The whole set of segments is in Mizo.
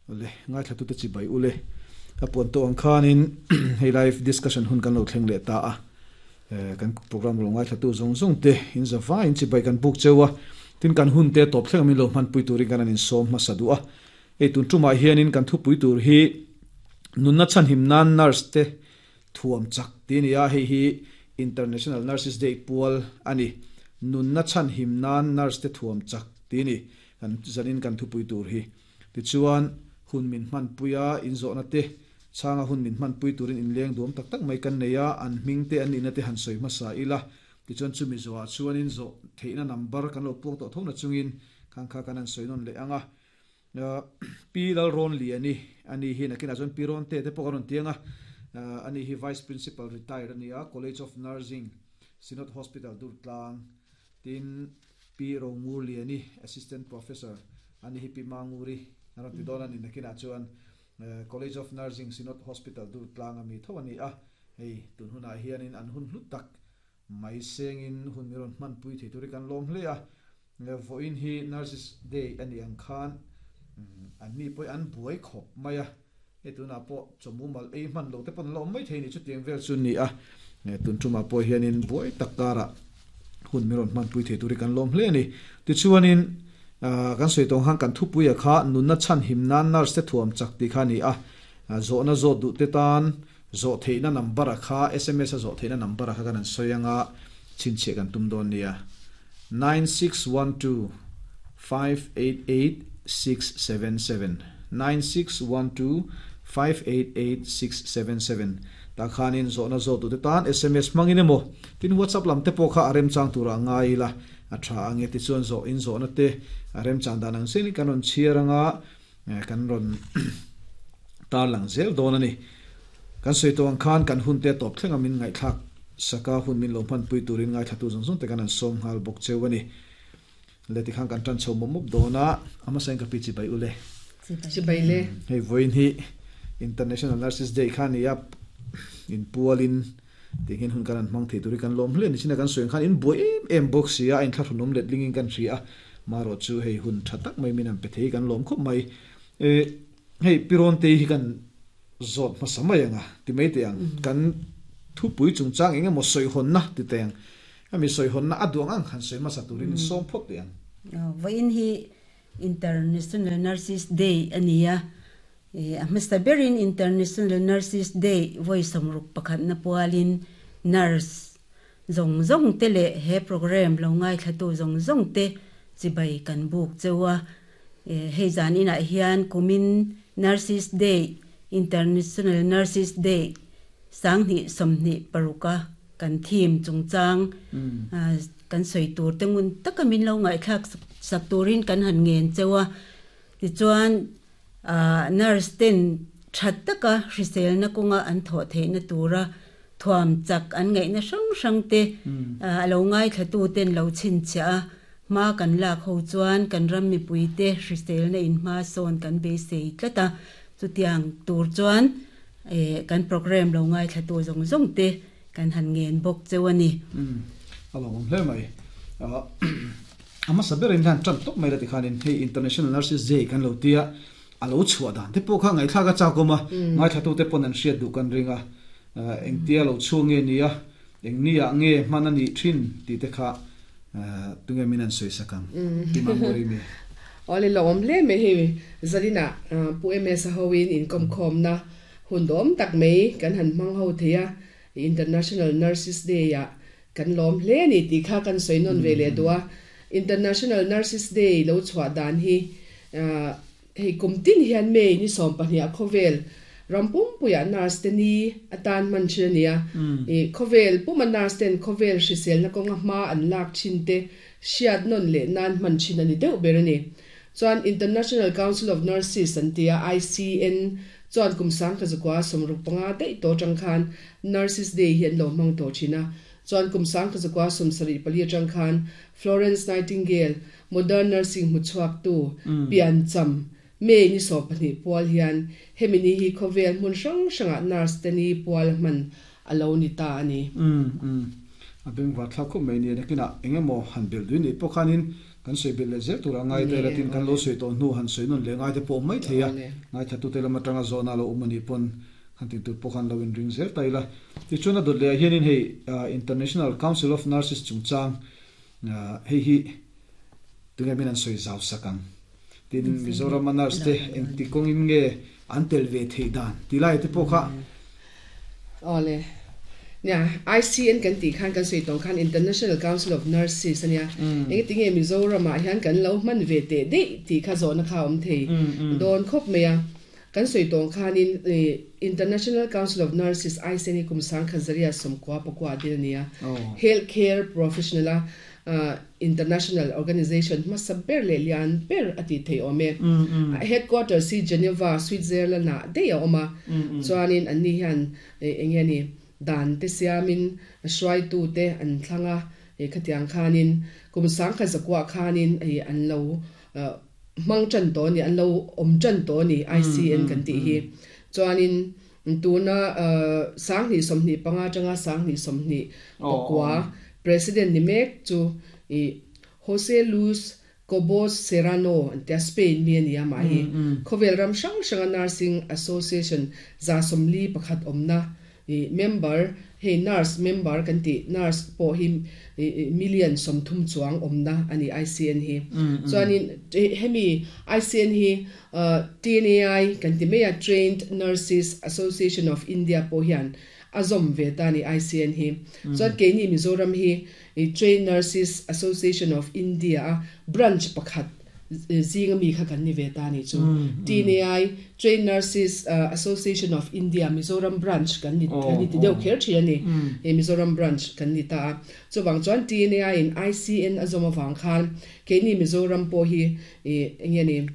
Le ngaithlatute chibai ule a puan tawh ang khanin hei live discussion hun kan lo thleng leh ta a kan program lo ngaithlatu zawng zawng te in zavai in chibai kan buk cheu a tin kan hun te tawp thleng min lo hmanpui turin kan an insawm hmasa duh a hei tun tumah hianin kan thupui tur hi nunna chhanhim nan nurse te thuam chak ti a ni a hei hi International Nurses Day pual a ni nunna chhanhim nan nurse te thuam chak ti a ni kan zanin kan thupui tur hi. Tichuan, hun min hmanpui a, inzawhna te, chhanga hun min hmanpui turin inleng duam tak tak mai kan nei a, an hming te an nihna te han sawi hmasa ila. Tichuan chumi zawhah chuan inzawh theihna number kan lo puak tawh tho na chungin khang kha kan han sawi nawn leh ang a. Pi Lalrawnliani a ni hi nakinah chuan Pi Rawnte te pawh kan rawn ti ang a, ani hi Vice Principal retired a ni a, College of Nursing, Synod Hospital Durtlang. Tin, Pi Romurliani, Assistant Professor, ani hi Pi Manguri a rawn ti dawn a ni. Nakinah chuan College of Nursing, Synod Hospital Durtlang a mi tho a ni a. Hei, tun hunah hianin an hun hlu tak mai sengin hun mi rawn hmanpui thei tur hi kan lawm hle a. Vawiin hi Nurses Day a nih ang khan anni pawh hi an buai khawp mai a. Hei tunah pawh chawhmu mal ei hman lo te pawn an la awm mai thei ni chutiang vel chu ni a, tun tumah pawh hianin buai tak karah hun min rawn hmanpui thei tur hi kan lawm hle a ni. Tichuanin kan sawi tawng khan kan thupuia kha nunna chhanhim nan nurse te thuam chak tih kha a ni a, zawhna zawt duh te tan zawh theihna number a kha sms a zawh theihna number a kha kan han sawi anga chhinchhiah kan tum dawn nia, 9612 588 677 9612 588 677 Tah khanin zawhna zawt duhte tan sms hmangin emaw tin WhatsApp lam te pawh kha a remchang turah ngai ila a tha ang e. Tichuan zawh in zawhna te a remchang dan ang zelin kan rawn chhiar anga kan rawn tarlang zel dawn a ni. Kan sawi tawh ang khan kan hun te a tawp thleng a min ngaihthlak saka hun min lo hmanpui turin ngaithlatu zawng zawng te kan han sawm nghal bawk cheu a ni. Le tikhan kan tan chho mawp mawp dawn a, a hmasa in ka pi chibai u le. Chibai le. Hei vawiin hi International Nurses Day kha a ni a, inpualin tianghian hun kan han hmang thei tur hi kan lawm hle a ni. China kan sawi ang khan in buai em em bawk si a, a inthlahrunawm letlingin kan hria a, marawh chu hei hun tha tak mai min han pe thei hi kan lawm khawp mai. Hei Pi Rawntei hi kan zawt hmasa mai ang a, ti mai teh ang. Kan thupui chungchang eng emaw sawihawnna ti teh ang. Hemi sawihawnna a duh ang ang han sawi hmasa turin in sawm phawt teh ang. Vawiin hi International Nurses Day a ni a, a hmasa berin International Nurses Day vawi 61na pualin nurse zawng zawng te leh he programme lo ngaithlatu zawng zawng te chibai kan buk cheu a. Hei zan inah hian kumin Nurses Day, International Nurses Day, 2026 a kan theme chungchang kan sawi tur te ngun taka min lo ngaihthlak sak turin kan han ngen cheu a. Tichuan nurse ten tha taka hriselna kawnga an thawh theihna tura thuam chak an ngaihna hrang hrang te a lo ngaithlatu ten lo chhinchhiah a, hma kan lak ho chuan kan ram mipui te hriselna in hma sawn kan beisei tlat a, chutiang tur chuan kan programme lo ngaithlatu zawng zawng te kan han ngen bawk cheu a ni. Umm a lo awm hle mai. A hmasa berin hian tan tawp mai la tikhanin hei International Nurses Day kan lo tia a lo chhuah dan te pawh kha ngaihthlak a chak awm a, ngaithlatute pawn an hriat duh kan ring a, engtia lo chhuak nge nia, eng niah nge hman a nih thin tih te kha tunge min an sawi sak ang Pi Manguri mi. Awle lo awm hle mai hei Zalinah Pu MS a hoin inkawmkhawmna hun dawm tak mai kan han hmang ho thei a, International Nurses Day ah kan lawm hle a ni tih kha kan sawi nawn ve leh duh a. International Nurses Day lo chhuah dan hi hei kum tin hian May ni 12 ah khawvel ram pumpuiah nurse te ni atan hman thin a ni a. Khawvel puma nurse ten khawvel hriselna kawnga hma an lak thin te hriat nawn leh nan hman thin a ni deuh ber a ni. Chuan International Council of Nurses an ti a, ICN, chuan kum 1965 daih tawh atang khan Nurses Day hi an lo hmang tawh thin a. Chuan kum 1974 atang khan Florence Nightingale, modern nursing hmuchhuaktu, piancham, May ni 12 pual hian hemi ni hi khawvel hmun hrang hrangah nurse te ni pual hman a lo ni ta a ni. Umm umm. A bengvar thlak khawp mai nia nakinah eng emaw han belh duin nih pawh khanin Kan sawi belh leh zel tur a ngai te latin kan lo sawi tawh hnu han sawi nawn leh ngai te pawh awm mai thei a. Ngaithlatute lam atanga zawhna a lo awm a nih pawn han tin tur pawh khan lo inring zel ta ila. Tichuan a dawt leh ah hianin hei International Council of Nurses chungchang hei hi tunge min an sawi zau sak ang. Tin Mizoram a nurse te engti kawngin nge an tel ve theih dan tih lai te pawh kha. Awle. Nia, ICN kan tih khan kan sawi tawng khan International Council of Nurses a nia. Engati nge Mizoram ah hian kan lo hman ve teh daih tih kha zawhna kha a awm thei dawn khawp mai a. Kan sawi tawng khanin International Council of Nurses, ICN, hi kum sangkhat zaria sawmkua pakua a din a ni a. Health care professional a international organization hmasa ber leh lian ber a tih theih awm e. A headquarters hi Geneva, Switzerland ah daih a awm a. Chuanin anni hian eng nge ni dan te siamin hruaitute an thlang a, khatiang khanin kum sangkhat zakuah khanin an lo hmang tan tawh a ni, an lo awm tan tawh a ni ICN kan tih hi. Chuanin tuna 2025 atanga 2029 President ni mek chu i Jose Luis Cobos Serrano an tia, Spain mi a ni a mah hi. Khawvel ram hrang hranga Nursing Association 41 awmna I member, hei nurse member kan tih, nurse pawh hi million 30 chuang awmna a ni ICN hi. Chuanin hemi ICN hi TNAI kan ti mai a, Trained Nurses Association of India pawh hian a zawm ve ta a ni ICN hi. Chuan keini Mizoram hi Trained Nurses Association of India a branch pakhat Zinga mi kha kan ni ve ta nih chu. TNAI, Trained Nurses Association of India, Mizoram Branch kan ni kan ni ti deuh kher thin a ni. Hei Mizoram Branch kan ni ta a. Chuvang chuan TNAI in ICN a zawm avang khan keini Mizoram pawh hi eng nge ni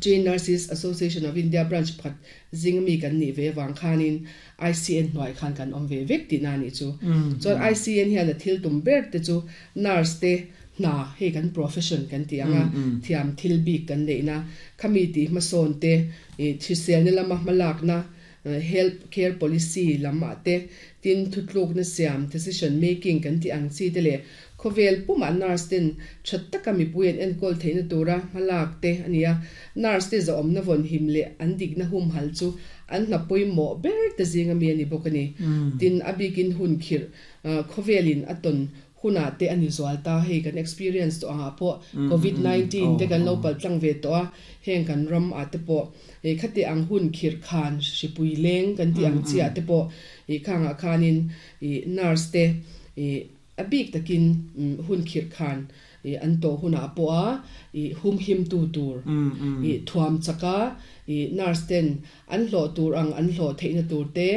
Trained Nurses Association of India Branch pakhat zinga mi kan nih ve avang khanin ICN hnuai khan kan awm ve vek tihna a nih chu. Chuan ICN hian a thil tum ber te chu nurse te hna hei kan profession kan tih ang a, thiam thil bik kan neihna, khami tih hmasawn te, ih hriselna lama hmalakna, health care policy lam ah te, tin thutlukna siam, decision making, kan tih ang chi te leh khawvel pumah nurse ten tha taka mipui an enkawl theihna tura hmalak te a ni a. Nurse te zahawmna vawnhim leh an dikna humhal chu an hna pawimawh ber te zinga mi a ni bawk a ni. Tin, a bikin hun khirh khawvelin a tawn hunah te a ni zual ta, hei kan experience tawh angah pawh covid 19 te kan lo palh tlang ve tawh a, heng kan ram ah te pawh hei khati ang hun khirh khan hripui leng kan tih ang chiah te pawh ih khangah khanin ih nurse te ih a bik takin hun khirh khan ih an tawh hunah pawh a ih humhim tu tur ih thuam chaka ih nurse ten An hlawh tur ang an hlawh theihna tur te,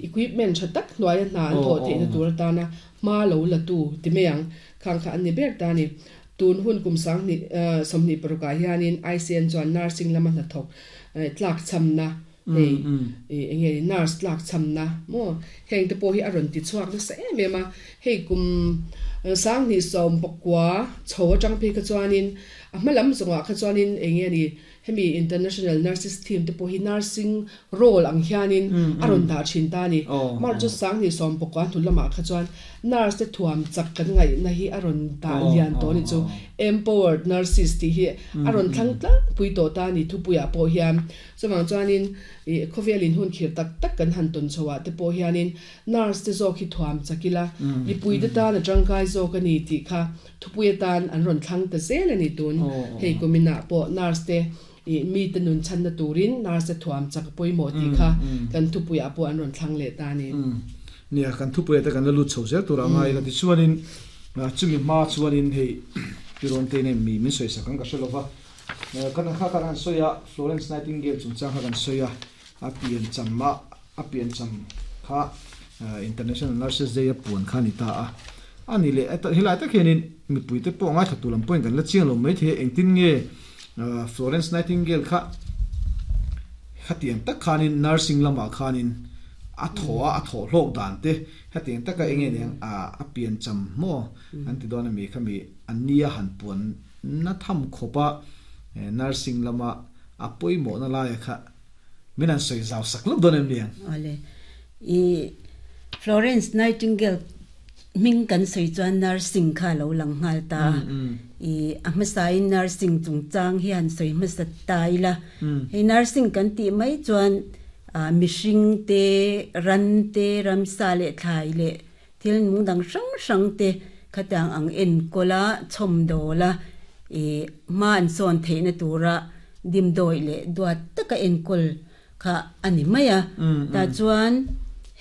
equipment tha tak hnuaia hna an thawh theihna tur atana hma lo la tu ti mai ang. Khang kha an ni ber ta a ni. Tun hun kum 2026 ah hianin ICN chuan nursing lama hnathawk tlakchhamna hei eng nge ni nurse tlakchhamna maw heng te pawh hi a rawn ti chhuak nasa em em a. Hei kum 2019 chho atang phei kha chuanin a hma lam zawngah kha chuanin eng nge ni Hemi International Nurses Team te pawh hi nursing role ang hianin a rawn dah thin ta a ni. March chu 2019 hnu lamah kha chuan nurse te thuam chak kan ngaihna hi a rawn dah lian tawh a ni chu. Empowered Nurses tih hi a rawn thlang tlangpui tawh ta a ni thupuiah pawh hian. Chuvang chuanin khawvel in hun khirh tak tak kan han tawn chhoah te pawh hianin nurse te zawk hi thuam chak ila mipui te tan a tangkai zawk a ni tih kha Thupui atan an rawn thlang ta zel a ni tun. Hei kuminah pawh nurse te ih mite nun chhanna turin nurse te thuam chak a pawimawh tih kha kan thupuiah pawh an rawn thlang leh ta a ni. Nia, kan thupuiah te kan la lut chho zel tur a ngai la. Tichuanin chumi hma chuanin hei Tirawn te nen mi min sawisak ang ka hre lova. Kan kha kan han sawi a, Florence Nightingale chungchang kha kan sawi a, a piancham a, A piancham kha International Nurses Day a puan kha a ni ta a. A ni leh helai tak hianin mipuite pawh ngaithla tur lam pawhin kan la chiang lo maithei a, engtin nge Florence Nightingale kha khatiang tak khanin nursing lamah khanin a thaw a, a thawh hlawk dan te hetiang taka eng nge niang a piancham maw an ti dawn ami khami a nia han puan na tham khawp a nursing lama a pawimawhna laia kha Min an sawi zau sak lawk dawn em ni ang? Awle. I Florence Nightingale Hming kan sawi chuan nursing kha a lo lang nghal ta a. I a hmasain nursing chungchang hi han sawi hmasa ta ila. Hei nursing kan tih mai chuan mihring te, ran te, ramsa leh thlai leh thil nung dang hrang hrang te khatiang ang enkawl a, chhawmdawl a, i hma an sawn theihna tura dimdawih leh duat taka enkawl kha a ni mai a. Tah chuan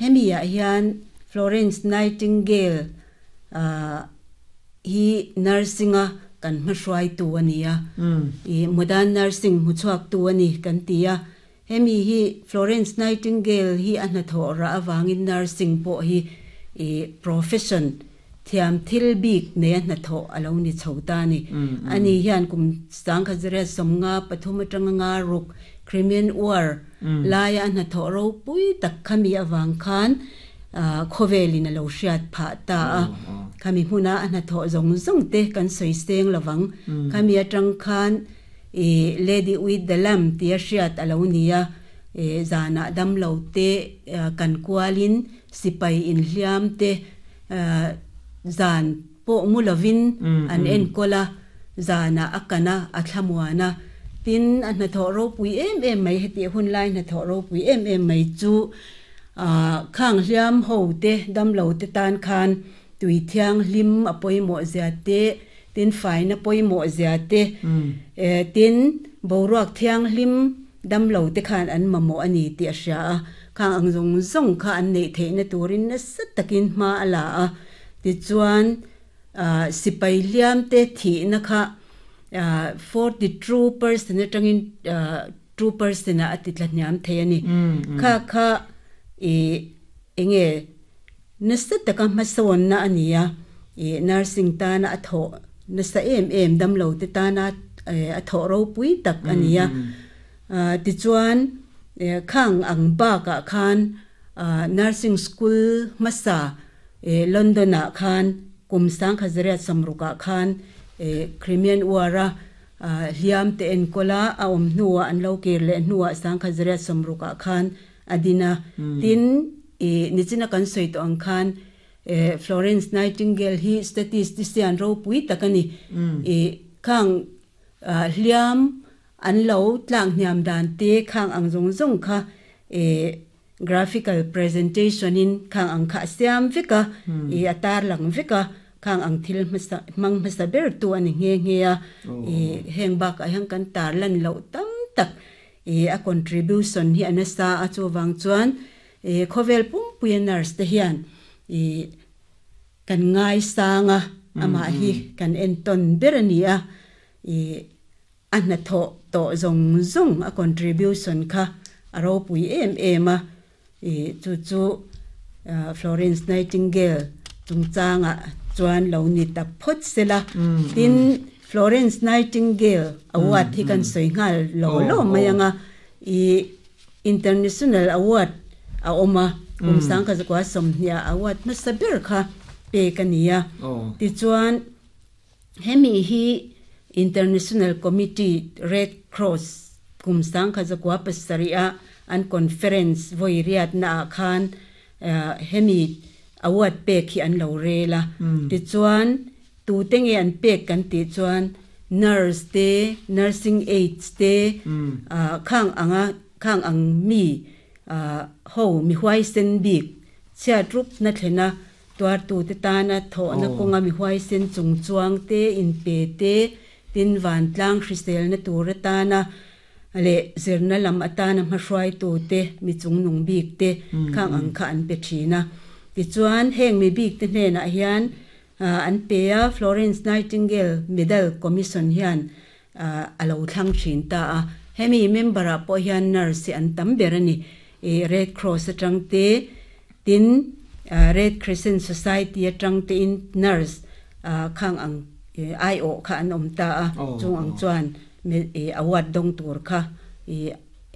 hemi ah hian Florence Nightingale hi nursing a kan hmahruaitu a ni a, ih modern nursing hmuchhuaktu a ni kan ti a. Hemi hi Florence Nightingale hi a hnathawh rah avangin nursing pawh hi ih profession Thiam thil bik neia hnathawh a lo ni chho ta a ni. Ani hian kum sangkhat 83 atanga nga ruk Crimean War laia a hnathawh ropui tak khami avang khan khawvelin a lo hriat phah ta a. Khami hmuna a hnathawh zawng zawng te kan sawi seng lovang. Khami atang khan Lady with the Lamp tia hriat a lo ni a. Zanah damlo te kan kualin sipai inhliam te Zan pawh mu lovin an enkawl a, zanah a kan a, a thlamuan a. Tin, a hnathawh ropui em em mai, hetih hun lai hnathawh ropui em em mai chu khang hliam ho te, damlo te tan khan tui thianghlim a pawimawh zia te, tin faina pawimawh zia te, tin boruak thianghlim damlo te khan an mamawh a ni tih a hria a. Khang ang zawng zawng kha an neih theihna turin nasa takin hma a la a, tichuan sipai hliamte thihna kha 42 percent atangin 2% ah a ti tla hniam thei a ni. Kha kha ih enge nasa taka hmasawnna a ni a, ih nursing tana a thawh nasa em em damlo te tana a thawh ropui tak a ni a. Tichuan, khang ang bakah khan nursing school hmasa London-ah khan kum 1960-ah khan Crimean War-a hliam te enkawl a, a awm hnuah an lo kir leh hnuah 1960-ah khan a din a. Tin, nichina kan sawi tawh ang khan Florence Nightingale hi statistician ropui tak a ni. Khang hliam An lo tlak hniam dan te khang ang zawng zawng kha eh graphical presentation in khang ang kha a siam vek a, ih a tar lang vek a, khang ang thil hmasa hmang hmasa ber tu a ni nghe nghe a, ih heng bakah hian kan tar lan loh tam tak ih a contribution hi a nasa a, chuvang chuan ih khawvel pumpuia nurse te hian ih kan ngaisang a, amah hi kan entawn ber a ni a, ih. A hnathawh tawh zawng zawng a contribution kha a ropui em em a, ih chu chu Florence Nightingale chungchangah chuan lo ni ta phawt se la. Tin, Florence Nightingale award hi kan sawi nghal lo lo mai ang a, ih International award a awm a, kum 1920 award hmasa ber kha pek a ni a. Tichuan. Hemi hi International Committee Red Cross kum 1907 a an conference vawi riatna ah khan hemi award pek hi an lo rel a. Tichuan tute nge an pek kan tih chuan nurse te, nursing aides te khang anga khang ang mi ho mi huaisen bik chhiat rupna thlena Tuartute tana thawhna kawnga mi huaisen chungchuang te, inpe te, tin vantlang hriselna tur atana leh zirna lam atana hmahruaitute, mi chungnung bik te khang ang kha an pe thin a. Tichuan, heng mi bik te hnenah hian an pe a, Florence Nightingale Medal Commission hian a lo thlang thin ta a. Hemi member-ah pawh hian nurse hi an tam ber a ni. Red Cross atang te, tin Red Crescent Society atang tein nurse khang ang aiawh kha an awm ta a. Chung ang chuan award dawng tur kha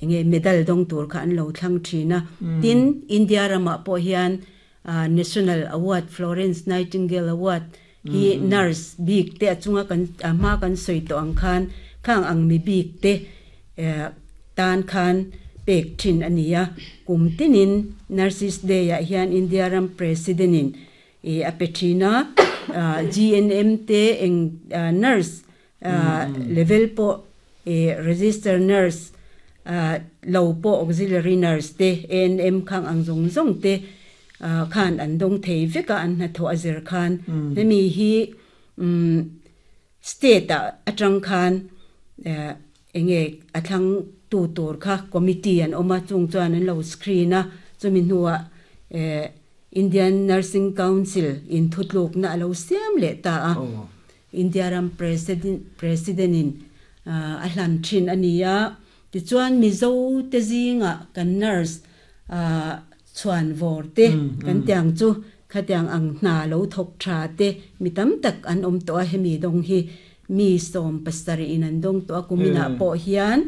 enge medal dawng tur kha an lo thlang thin a. Tin, India ramah pawh hian National Award, Florence Nightingale Award hi nurse bik te a chunga kan a hma kan sawi tawh ang khan khang ang mi bik te tan khan pek thin a ni a. Kum tinin Nurses Day ah hian India ram President in I a pe thin a, GNM te eng nurse level pawh i register nurse lo pawh auxiliary nurse te ANM khang ang zawng zawng te khan an dawng thei vek a an hnathawh a zir khan hemi hi state ah atang khan enge a thlang tu tur kha committee an awm a chung chuan an lo screen a chumi hnuah Indian Nursing Council in thutlukna a lo siam leh ta a. India ram President in a hlan thin a ni a, tichuan Mizo te zingah kan nurse chhuan vawr te kan tiang chu khatiang ang hna lo thawk tha te mi tam tak an awm tawh a, hemi dawng hi mi 70 in an dawng tawh a, kuminah pawh hian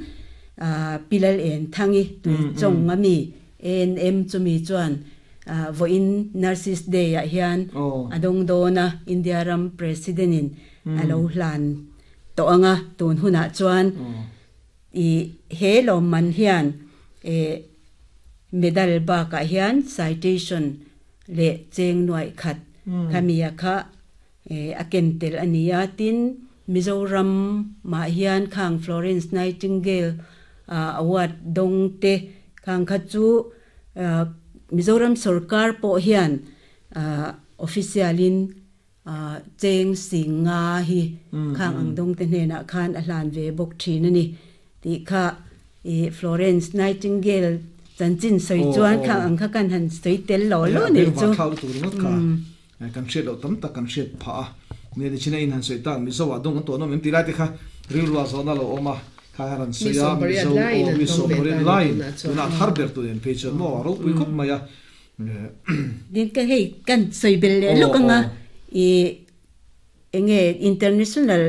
Pi Lal En Thangi Tuichawng a mi ANM chumi chuan Vawiin Nurses Day ah hian a dawng dawn a, India ram President in a lo hlan tawh ang a, tun hunah chuan i he lawmman hian medal bakah hian citation leh cheng nuaih khat khamia kha a ken tel a ni a, tin Mizoram mah hian khang Florence Nightingale Award dawng te khang kha chu Mizoram sorkar pawh hian official in cheng sing nga hi khang ang dawng te hnenah khan a hlan ve bawk thin a ni tih kha i Florence Nightingale chanchin sawi chuan khang ang kha kan han sawi tel lo lo ni chu. Kan hriat loh tam tak kan hriat phah a, nia ni china in han sawi tak Mizo ah dawng an tawh nawm em tih lai te kha rilru ah zawhna lo awm a, kha hian an sawi a, Mizo aw mi 80 laiin tunah thar ber tur en phei chuan maw a ropui khawp mai a. Din ka hei kan sawi bel leh lawk anga i enge international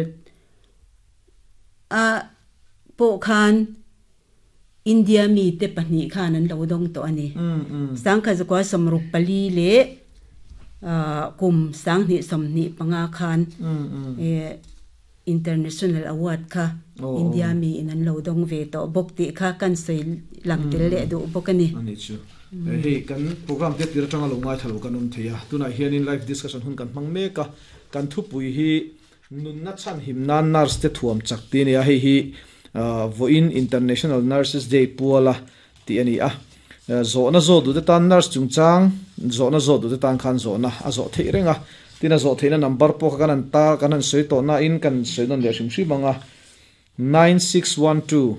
a pawh khan India mite pahnih khan an lo dawng tawh a ni. 1964 leh kum 2025 khan International Award kha India miin an lo dawng ve tawh bawk tih kha kan sawi lang tel leh duh bawk a ni. A nih chu. Hei kan program te tir atanga lo ngaithla lo kan awm thei a. Tunah hianin live discussion hun kan hmang mek a. Kan thupui hi Nunna chhanhim nan nurse te thuam chak tih a ni a, hei hi vawiin International Nurses Day puala tih a ni a. Zawhna zawh duhte tan nurse chungchang zawhna zawh duhte tan khan zawhna a zawh theih reng a, tin a zawh theihna number pawh kha kan han tar kan han sawi tawh nain kan sawi nawn leh hrim hrim ang a, 9612.